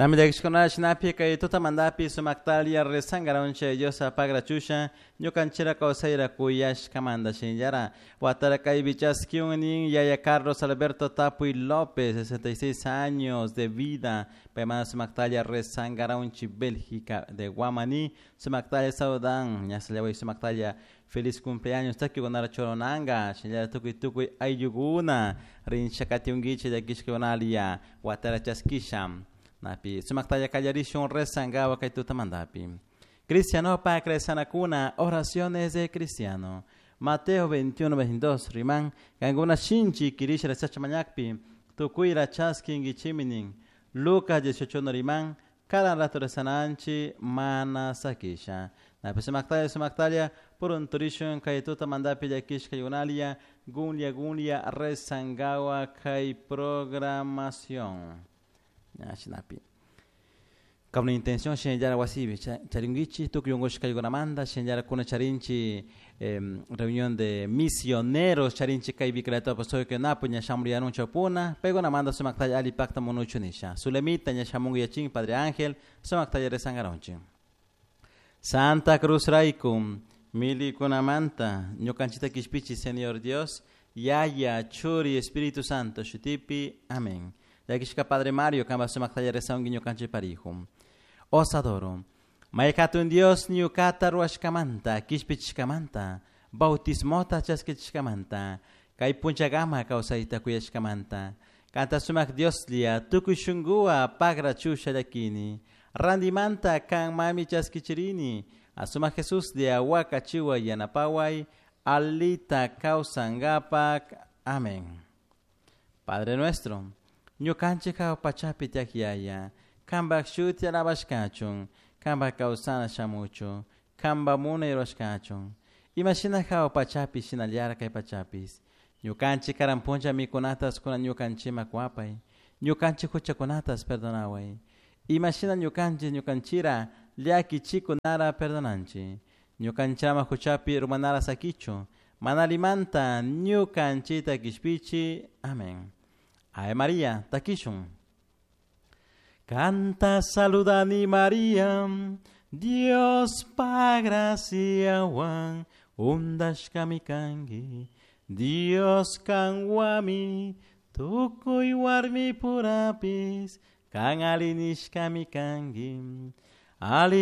Tamillakishkuna shinapi kay tutamantapi sumaktalia rezangaronche Diosa pagrachusha ñukanchira kawsayra kuyashkamanta shinallara watara kaypi chaskiun yaya Carlos Alberto Tapuy López, 66 años de vida, paymanta sumaktalia rezangaronchi Bélgica de Guamaní, sumaktalia saudan, ñasallaway sumaktalia feliz cumpleaños takikunara choronanga, shinallara tukuy tukuy ayllukuna rinchakatiunkichik llakishkunalia watara chaskisha. Napi sumaktalla kallarishun rezangawa kay tutamantapi. Cristiano pa cuna oraciones de cristiano. Mateo 21, 22, riman, kankuna shinchi kirisha resacha mañakpi, tukuyra chaskinkichiminin. Lucas 18, riman, cada rato rezananchi mana sakisha. Napi sumaktalla sumaktalla, purunturishun kay tutamantapi llakishka yunalia, gunlia gunlia rezangawa kay programación. Shinapi. Con una intención shinallara wasipi charinkichik tukuy unkushkaykunamanta shinallara kuna charinchik reunión de misioneros charinchik kay Vicariato Apostólico Napo ña shamuryanun chawpuna paykunamanta sumaktalla alli pakta munuchu nisha Sulemita ña shamunga yachin Padre Ángel sumaktalla rezangaronchik. Santa Cruz rayku milikunamanta ñukanchikta kishpichi Señor Dios Yaya Churi Espíritu Santo shutipi amén. Llakishka Padre Mario kanpa sumaktalla rezanki ñukanchik parijo. Os adoro. Maykatun Dios ñukata ruwashkamanta, kishpichishkamanta, bautismota chaskichishkamanta, kay punchakama kawsayta kuyashkamanta, kanta sumak Dioslla tukuy shunkuwa pagra chusha llakini, randimanta kan mami chaskichirini, asumak Jesuslla wakachiwa yanapaway, alita kawsankapak. Amén. Padre nuestro, ñukanchik hawa pachapi tiyak yaya, kanpak shuti alabashkachun, kanpak kawsana shamuchun, kanpak munay rurashkachun. Imashina hawa pachapi shinallara kay pachapis. Ñukanchik karan puncha mikunatas kunan ñukanchikman kuwapay, ñukanchik huchakunatas perdonaway. Imashina ñukanchik ñukanchira llakichikunara perdonanchik. Ñukanchama huchapi urmanara sakichu, mana allimanta ñukanchikta kishpichi. Amén. Ave María, takishun. Canta saludani María, Dios pa graciawan undashkami kanki, Dios kanwami tukuy warmi purapis, kan alli nishkami kanki. Ali